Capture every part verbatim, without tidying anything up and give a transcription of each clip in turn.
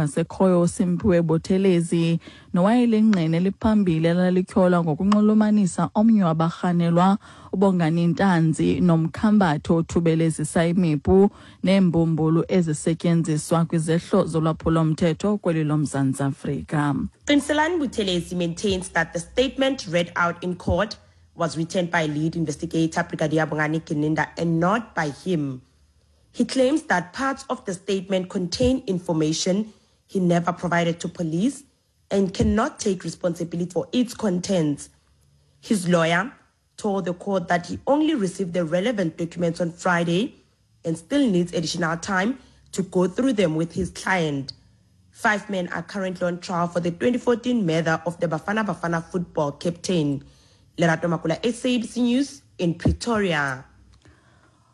ongasekhoyo uSimphiwe Buthelezi nowayelingqina eliphambili elalityholwa ngokunxulumanisa omnye wabarhanelwa uBongani Ntanzi nomkhambathi othubelezisa imipu neembumbulu ezisetyenziswa kwizehlo zolwaphulo-mthetho kweli loMzantsi Afrika. Qiniselani Buthelezi maintains that the statement read out in court was written by lead investigator Brigadier Bongani Gininda and not by him. He claims that parts of the statement contain information he never provided to police and cannot take responsibility for its contents. His lawyer told the court that he only received the relevant documents on Friday and still needs additional time to go through them with his client. Five men are currently on trial for the twenty fourteen murder of the Bafana Bafana football captain. Lerato Makula, S A B C News in Pretoria.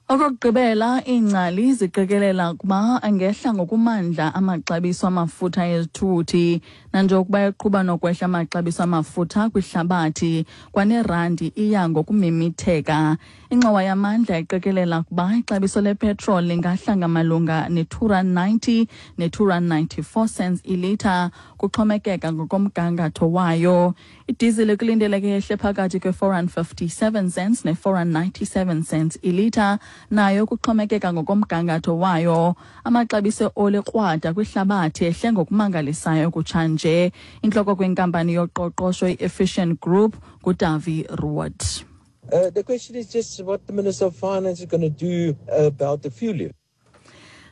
Okokugqibela, iingcali ziqikelela ukuba angehla ngokumandla amaxabiso amafutha ezithuthi nanjengokuba eqhuba nokwehla amaxabiso amafutha kwihlabathi kwanerandi iya ngokumimitheka. Ingxowa yamandla iqikelela ukuba ixabiso lepetroli lingahla ngamalunga ne-two rand ninety ne-two rand ninety-four cents ilitha kuxhomekeka ngokomgangatho wayo. Idizili kulindeleke yehle phakathi kwe-four rand fifty-seven cents ne-four rand ninety-seven cents ilitha nayo kuxhomekeka ngokomgangatho wayo. Amaxabiso eoli krwada kwihlabathi ehle ngokumangalisayo kutshanje. Intloko kwinkampani yoqoqosho i-Efficient Group nguDavi Roodt. Uh, the question is just what the Minister of Finance is gonna do about the fuel levy.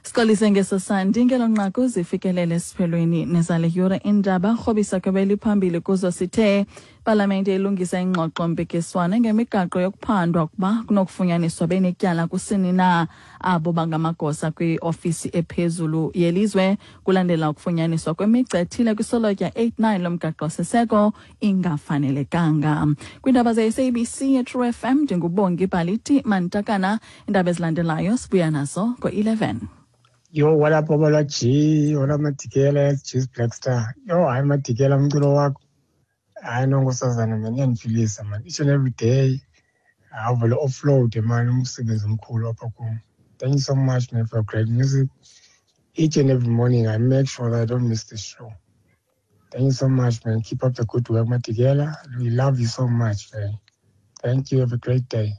Sixolise ngeso sandi ngelo nqaku zifikelele esiphelweni nezale yure indaba rhobisa kwebeli phambili kuzo sithe Palamente ilungisa ingxoxo mpikiswano ngemigaqo yokuphandwa ukuba kunokufunyaniswa benetyala kusini na abo bangamagosa kwiofisi ephezulu yelizwe kulandela ukufunyaniswa kwemigca ethile kwisolotya eight nine lomgaqo-siseko ingafanelekanga. Kwiindaba ze-S A B C ye-True F M ndinguBongi Bhaliti Mantakana. Iindaba ezilandelayo sibuya nazo ngo-eleven. Yo, what up, Baba G? What up, Matikela, Juice Black Star? Yo, hayi Matikela, umculo wakho. Hayi no, nkosazana, man, iyandiphilisa, man. Each and every day, avele offload, man, umsebenzi omkhulu apha kum. Thank you so much, man, for great music. Each and every morning, I make sure that I don't miss the show. Thank you so much, man. Keep up the good work, Matikela. We love you so much, man. Thank you. Have a great day.